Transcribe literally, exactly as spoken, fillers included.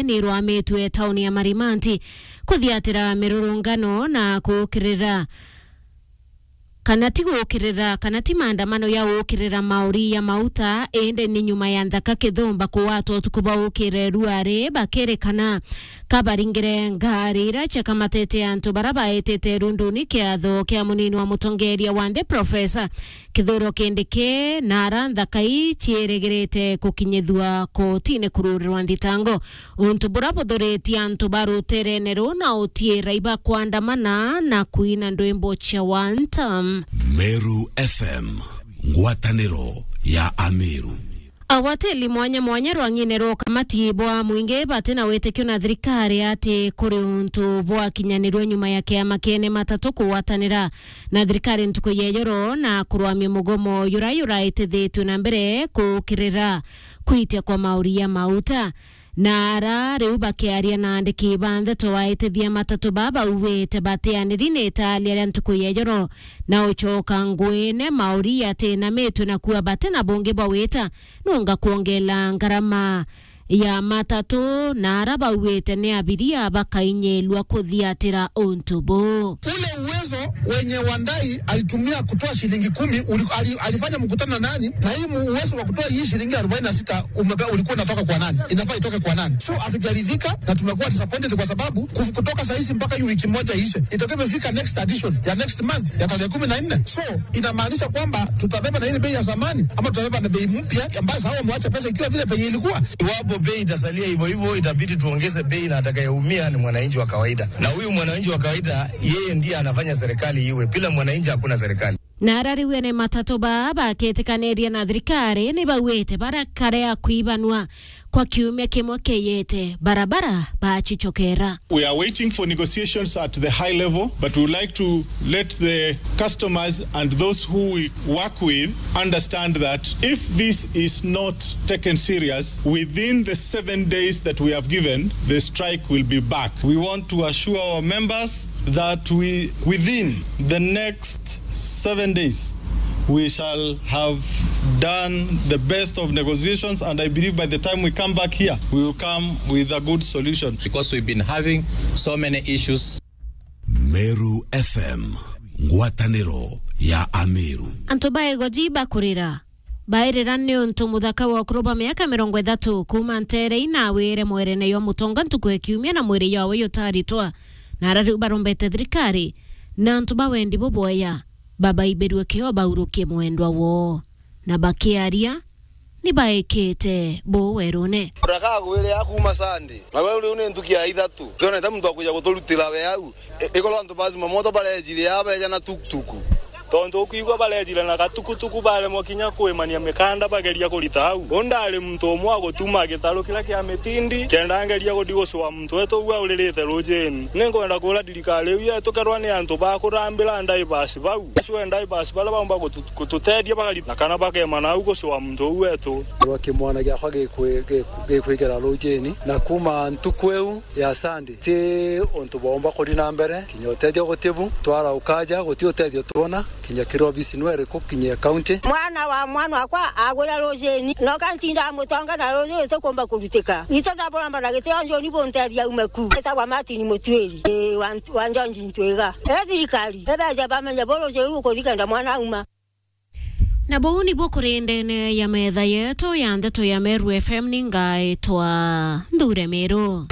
ni irwamitue tauni ya Marimanti kuthiatira mirurungano na kukirira kana ti gukirira, kana ti maandamano ya gukirira mauri ya mauta, indi ni nyuma ya nthaka kithumba kuwatwa utuku bwa ukire ruari bakirikana kabaringire ngari ira ciakamatete antu bara baetete runduni kiatho kia munini wa mutongeria wa nthi Professor Kithure Kindiki, na ara nthaka ii ciirigirite kukinyithua kotini kururirwa nthitango. Untu bura buthuritie antu ba ruterene ruu na utiira iba kwandamana na kwina ndwimbo cia one term. Meru F M, ngwataniro ya Ameru. Agwatiri mwanya mwanya rwang'ine rwa ukamati bwa mwingi bati na witikio na thirikari ati kuri untu bwakinyanirwe nyuma ya kiama kiene matatu kugwatanira na thirikari ntuku ya ijoro na kurwamia mugomo jura juraitithitue na mbere kukirira kwitia kwa mauri ya mauta. Na ara riu bakiaria na andiki ba ndeto, aitithia matatu ba bauwite batianiri ni italia ria ntuku ya ijoro na ucoka nguine mauri yatinamitwe na kuwa bati na bungi bwa wita nunga kwongela ngarama ya matatu, na ara bauwite ni abiria bakainyelua kuthiatira untu buu. Ule uwezo wenye Wandai alitumia kutoa shilingi kumi, uli-, ali-, alifanya mkutano na nani? Na hii mu-, uwezo wa kutoa hii shilingi arobaini na sita umebe-, ulikuwa unatoka kwa nani? Inafaa itoke kwa nani? So, hatujaridhika na tumekuwa disappointed kwa sababu kuf-, kutoka saa hizi mpaka hii wiki moja iishe, itakuwa imefika next addition ya next month ya tarehe kumi na nne. So, inamaanisha kwamba tutabeba na ile bei ya zamani ama tutabeba na bei mpya ambayo sasa wamewacha pesa ikiwa vile bei ilikuwa? Iwapo bei itasalia hivyo hivyo, itabidi tuongeze bei, na atakayeumia ni mwananchi wa kawaida. Na huyu mwananchi wa kawaida, yeye ndiye anafanya serikali iwe. Bila mwananchi, hakuna serikali. Na ara riu ene matatu ba bakitikaniria na thirikari ni bauite barakare a kwibanua kwa kiumia kimwe kiyete, barabara bacicokera. We are waiting for negotiations at the high level, but we would like to let the customers and those who we work with understand that if this is not taken serious, within the seven days that we have given, the strike will be back. We want to assure our members that we, within the next seven days, we shall have done the best of negotiations, and I believe by the time we come back here, we will come with a good solution. Because we've been having so many issues. Meru F M, ngwataniro ya Ameru. Antu ba Igoji bakurira, bairira ni untu muthaka wa ukuru bwa miaka mirongo ithatu kuuma ntere inawire mwerene yo mutonga ntuku ya kiumia na mwiri yawe yutaritwa, na ara riu barombete thirikari na antu ba wendi bubwaya babaibirue kio baurukie mwendwa woo, na bakiaria ni baikite buu werune. Ndakagwire ya kuuma Sunday. Na we riu ni ntuku ya ithatu. Twonete muntu wa kuja guturutira we au. I-, ikorwo antu ba zimamoto barejire aa beja na tukutuku. Tontu ukwigua barejire na gatukutuku, baremwa kinya kwimania mikanda bageria kurita au. Uu ndari muntu umwe wa gutuma gitaru kiria kia mitindi, kenda ngeria guthi gucua muntu wetu uu auririte rujini. Ninkwenda kuura thirikari iu yetu, kerwa ni antu ba kurambira ndivers bau, bacue ndivers baria baumba gutu-, gututethia bakarita, na kana bakemana au gucua muntu uu wetu. Rwa kimwana giakwa gikwi-, giku-, gikwigera rujini, na kuuma ntuku iu ya Sunday, ti untu bwaumba kuthi na mbere, kinya utethio gutibu, twara ukaja, guti utethio twona, kinya kiri obisi nwe iriku, kinya county. Mwana wa mwana wakwa agwira rujini, noka ntinda mutonga na ruji rutikumba kurutika. Itu ndaburamba na gitio njoni buntethia ume ku. Etagwa Martin Mutuiri, ii, wa Nt-, wa Njonji Ntwiga. E thirikari, ibeje bamenye bu ruji ruu rukuthi kenda mwana auma. Na buu nibu kuri ndene ya metha yetu ya ndeto ya Meru F M, ni ngaitwa Nthure Miru.